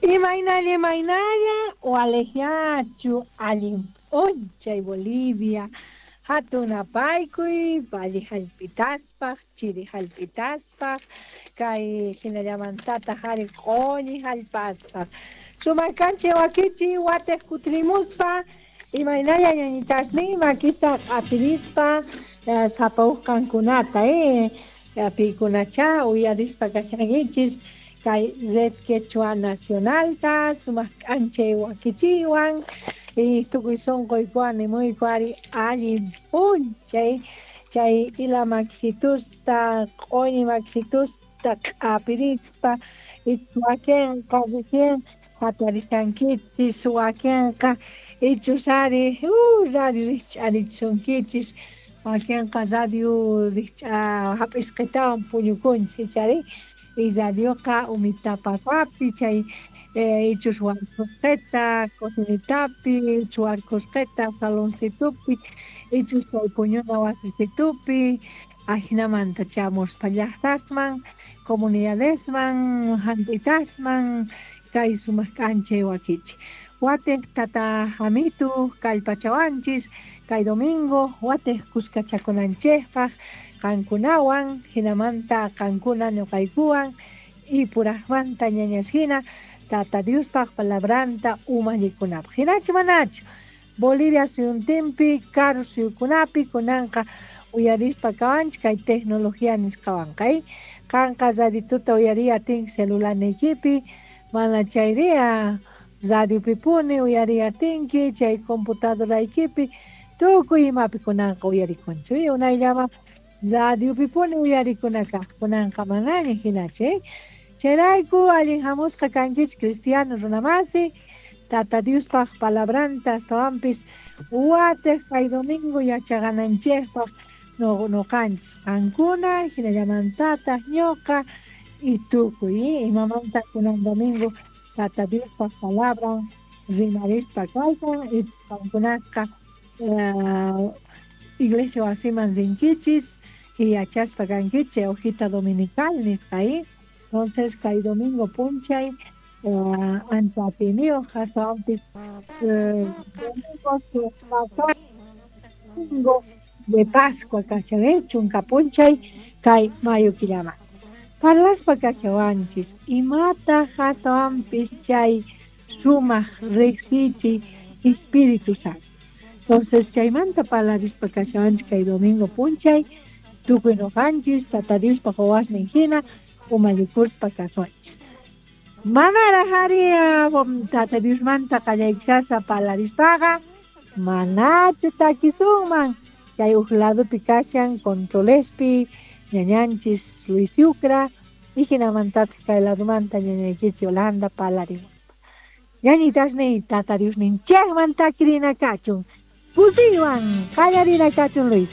Imaynalla, imaynalla, waliqñachu allin p'unchay Bolivia, hatun apaykuy, valle hallp'itaspaq, chiri hallp'itaspaq, kay hinallamantataq ari q'uñi hallp'aspaq. Sumaq kanchay wakichiy watiq kutirimuspa, imaynalla ñañitasniy makista q'apirispa sapa uj qankunata, piykunachá uyarispa kashankichis kay Red Quechua Nacionalta sumaq k'anchay wakichiywan y tukuy sunquykuwan nimuyku ari allin p'unchay chay ila makisitusta q'uñi makisitusta q'apirispa wakenqa recién jatarishankichis wakenqa ichus ari radio rijch'arichisunkichis wakenqa radio rijch'a hap'isqetawan puñukunchis ichari y radioqa umitapapapi chay ichus warkusqeta cocinitapi ichus warkusqeta saloncitupi ichus chay puñuna wasisitupi ajinamanta chamuspa llaqtasman comunidadesman jant'itasman kay sumaq k'anchay wakichi watiq tata Jamitu kallpachawanchis kay domingo watiq kuskachakunanchikpaq qankunawan hinamanta qankuna ñuqaykuwan y puraqmanta ñañas hina Tata Diospaq palabranta umallikunapaq hinachu manachu Bolivia suyuntinpi karu suyukunapi kunanqa uyarispa kawanchik kay tecnología nisqawanqa qanqa radituta uyariy atinki celularniykipi mana chayriya radiopipuni uyariy atinki chay computadoraykipi tukuy imapi kunanqa uyarikunchik unayllama radiopipuni uyarikuna kaq kunanqa manaña hinachu chayrayku allin hamusqa kankichik cristiano runamasi Tata Diospaq palabranta astawanpis watiq kay domingo yachaqananchikpaq nuqanchis qankuna hinallamantataq ñuqa y tukuy imamanta kunan domingo Tata Diospaq palabran rimarispa kaykan y qankunaqa iglesia wasiman rinkichis y yachaspa kankichis hojita dominical nisqa entonces kay domingo p'unchay ancha atiyniyuq astawanpis domingo de Pascua kashan chunka p'unchay kay mayo killaman parlaspa kashawanchis imataq astawanpis chay sumaq riqsichiy Espíritu Santo. Entonces chaymanta parlarispa kashawanchis kay domingo p'unchay tukuy nuqanchis Tata Diospaq wawasnin hina umallikuspa kasuanchis. Manaraq ari Tata Diosmanta qallaychaspa parlarispaqa manachu takisunman chay uj ladopi kashan controlespi ñañanchis Luis Yucra y hinamantataq kay ladomanta ñañaykichis Yolanda parlarimuspa. Ñañitasniy Tata Diosninchikman takirina kachun. Kusiywan qallarina kachun Luis.